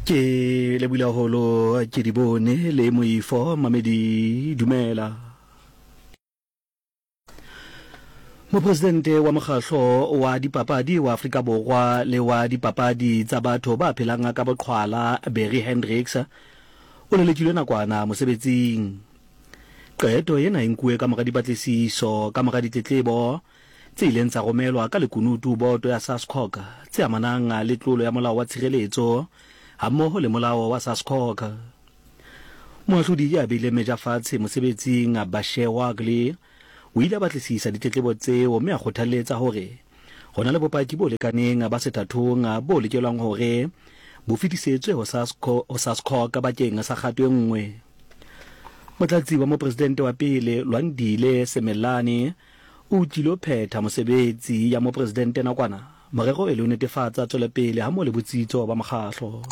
Ke lebile haholo ke di bone le moifo mamedi dumela. Mopresidente wa mokgahlo wa dipapadi wa Afrika Borwa le wa dipapadi tsa batho ba phelang ka boqhwala Barry Hendricks o lelekilwe nakwana mosebetsing. Qeto ena e nkuwe ka mora dipatlisiso ka mora ditletlebo tse ileng tsa romelwa ka lekunutu boto ya SASCOC tse amanang le tlolo ya molao wa tshireletso hammoho le molao wa SASCOC. Moahlodi ya beileng meja fatshe mosebetsing Bashe Wagley o ile a batlisisa ditletlebo tseo mme a kgothalletsa hore ho na le bopaki bo lekaneng ba sethathong bo lokelwang hore bo fetisetswe ho SASCOC bakeng sa kgato e nngwe. Motlatsi wa Mopresidente wa pele Lwandile Simelane o tlilo phetha mosebetsi ya mopresidente nakwana, morero e le ho netefatsa tswelopele hammoho le botsitso ba mokgahlo.